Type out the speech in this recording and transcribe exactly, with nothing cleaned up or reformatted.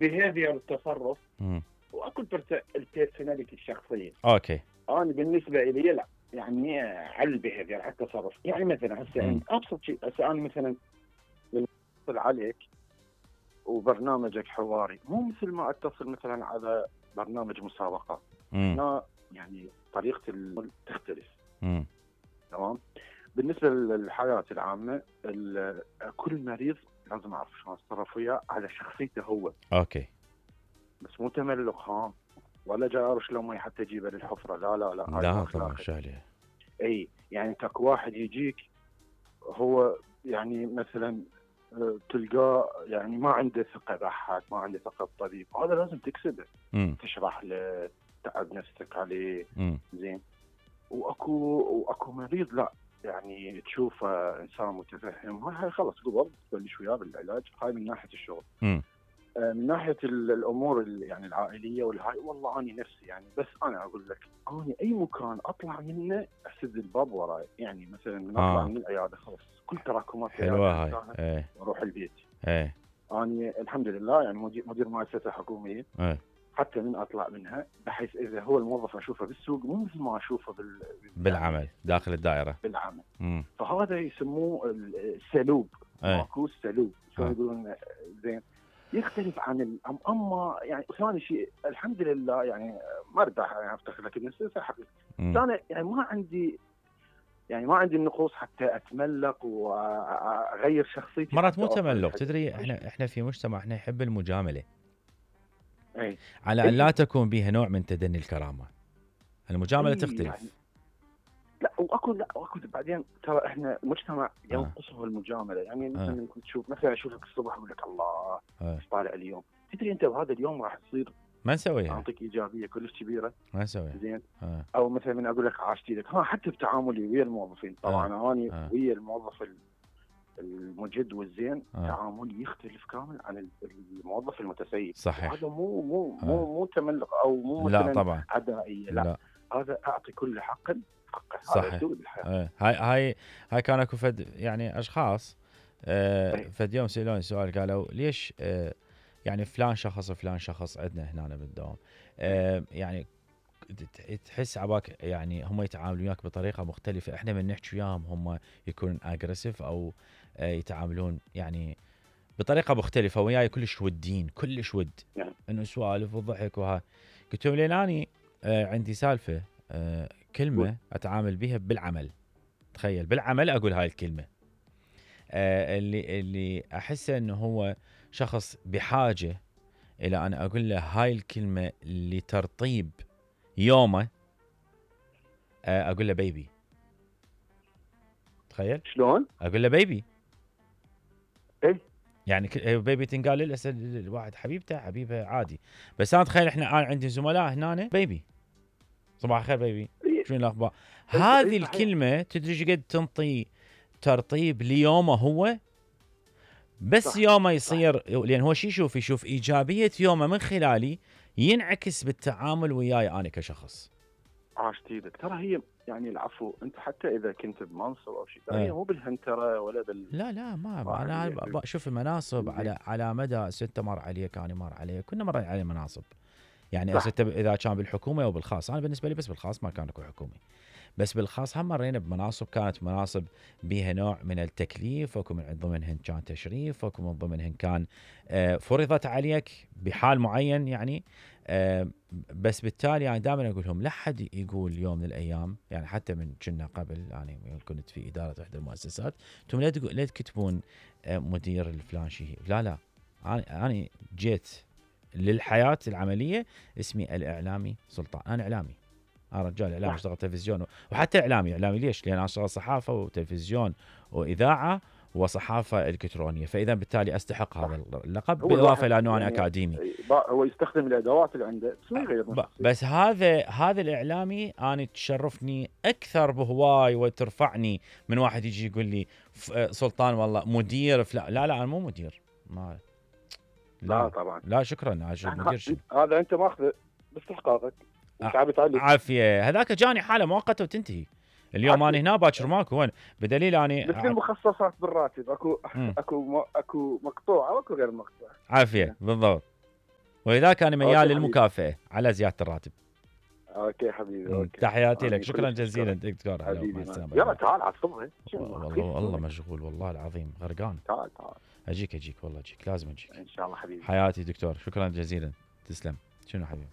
بيهيفير التصرف، امم واكو البيرسوناليتي الشخصيه. اوكي. انا بالنسبه لي لا، يعني على البيهيفير على التصرف. يعني مثلا هسه ابسط شيء، هسه انا مثلا اتصل عليك وبرنامجك حواري، مو مثل ما اتصل مثلا على برنامج مسابقه. هنا يعني طريقه تختلف. امم تمام. بالنسبه للحياه العامه، كل مريض لازم اعرف شلون اتصرف وياه على شخصيته هو. اوكي. بس مو تملق خام ولا جاي ارش له مي حتى اجيبه للحفره. لا لا لا لا طبعا شغله. اي يعني تاك واحد يجيك هو يعني مثلا تلقاه يعني ما عنده ثقه بأحد، ما عنده ثقه بطبيب، هذا لازم تكسبه. مم. تشرح له، تعب نفسك عليه. مم. زين. واكو واكو مريض لا، يعني تشوفه انسان متفهم، هاي خلص قبل تبلش وياه بالعلاج. هاي من ناحيه الشغل. مم. من ناحيه الامور يعني العائليه والهاي، والله اني نفسي يعني، بس انا اقول لك اني اي مكان اطلع منه اسد الباب وراي. يعني مثلا من اطلع آه. من العياده خلاص كل تراكمات حلوه هاي. ايه. واروح البيت. ايه. اني الحمد لله يعني مدير مدير مؤسسه حكوميه. ايه. حتى من اطلع منها، بحيث اذا هو الموظف اشوفه بالسوق مو مثل ما اشوفه بال... بالعمل يعني داخل الدائره بالعمل. مم. فهذا يسموه السلوب. ايه. ماكو السلوب شو آه. يقولون. زين. يختلف عن ال... اما يعني ثاني شيء الحمد لله يعني مرتاح، يعني افتخر لك النساء حقيقي. انا يعني ما عندي يعني ما عندي النقوص حتى اتملق واغير شخصيتي. مرات مو تملق، تدري احنا احنا في مجتمع احنا نحب المجامله. اي. على ان لا تكون بها نوع من تدني الكرامه. المجامله أي تختلف. يعني لا واكو لا واكو بعدين ترى احنا مجتمع ينقصه آه. المجامله. يعني آه. مثلا كنت تشوف مثلا اشوفك الصبح اقول لك الله آه. طالع اليوم، تدري انت بهذا اليوم راح تصير ما نسويها، اعطيك ايجابيه كلش كبيره. ما نسويها. زين. آه. او مثلا من اقول لك عاشت لك ها، حتى بتعاملي ويا الموظفين طبعا. آه. اني آه. ويا الموظف المجد والزين آه. تعاملي يختلف كامل عن الموظف المتسيب. صحيح. هذا مو مو آه. مو مو تملق او مو لا مثلا طبعا عدائيه. لا. لا. هذا اعطي كل حق حقه. صحيح. هذا اسلوب الحياه. آه. هاي هاي هاي كان اكو فد يعني اشخاص آه فد يوم سالوني سؤال، قالوا ليش آه يعني فلان شخص وفلان شخص عندنا هنا بالدوام آه يعني تحس عباك يعني هم يتعاملون وياك بطريقه مختلفه. احنا من نحكي وياهم هم يكونون اجريسيف او آه يتعاملون يعني بطريقه مختلفه وياي كلش ودين كلش ود يعني. انه سوالف وضحك وها. قلت لهم لين اني آه عندي سالفه آه كلمه اتعامل بها بالعمل. تخيل بالعمل اقول هاي الكلمه آه اللي اللي احس انه هو شخص بحاجه الى ان اقول له هاي الكلمه لترطيب يومه. آه اقول له بيبي. تخيل شلون اقول له بيبي. اي يعني بيبي تنقال للاسف الواحد حبيبته حبيبه عادي. بس انا تخيل احنا انا عندي زملاء هنا بيبي صباح الخير بيبي شنو الاخبار. هذه الكلمه تدري ايش قد تنطي ترطيب ليومه هو. بس صح. يومه يصير صح. لان هو شي يشوف يشوف ايجابيه يومه من خلالي ينعكس بالتعامل وياي انا كشخص. عاشتي لك. ترى هي يعني العفو، انت حتى اذا كنت بمنصب او شيء هي مو بالهنتره ولا بال لا لا ما انا شوف المناصب على على مدى ستة مر عليه كان مر عليه كنا مر عليه مناصب. يعني ستة اذا كان بالحكومه او بالخاص. انا بالنسبه لي بس بالخاص ما كان اكو حكومي. بس بالخاص هم مرينا بمناصب كانت مناصب بها نوع من التكليف، وكم من ضمنهن كان تشريف، وكم من ضمنهن كان فرضت عليك بحال معين يعني. بس بالتالي يعني دائما اقول لهم لا حد يقول يوم من الايام يعني حتى من كنا قبل يعني كنت في اداره احدى المؤسسات انتم لا لا تكتبون مدير الفلان شيء. لا لا انا انا جيت للحياه العمليه اسمي الاعلامي سلطان. انا اعلامي. انا رجال اعلامي اشتغل تلفزيون وحتى اعلامي. اعلامي ليش؟ لان انا اشتغل صحافه وتلفزيون واذاعه وصحافه الكترونيه. فاذا بالتالي استحق هذا اللقب بالاضافه الى انه انا يعني اكاديمي. هو يستخدم الادوات اللي عنده بس ما يغير نفسه. بس هذا هذا الاعلامي انا تشرفني اكثر بهواي وترفعني من واحد يجي يقول لي سلطان والله مدير لا لا, لا انا مو مدير. ما لا, لا طبعا لا شكرا مدير. هذا انت ماخذه باستحقاقك. عافيه. هذاك جاني حاله مؤقته وتنتهي. اليوم انا هنا باكر ماكو وين بدليل اني مثل المخصصات بالراتب اكو م. اكو اكو مقطوعه واكو غير مقطوعه. عافيه بالضبط. ولذلك انا ميال أوكي للمكافاه على زياده الراتب. اوكي حبيبي مم. اوكي. تحياتي أنا لك، شكرا كلش جزيلا مشكور. دكتور. هلا حبيبي مع ما- السلامه. يلا تعال عصبني. والله والله مشغول والله العظيم غرقان. تعال تعال اجيك اجيك والله اجيك لازم اجيك. ان شاء الله حبيبي. حياتي دكتور، شكرا جزيلا، تسلم. شنو حبيبي؟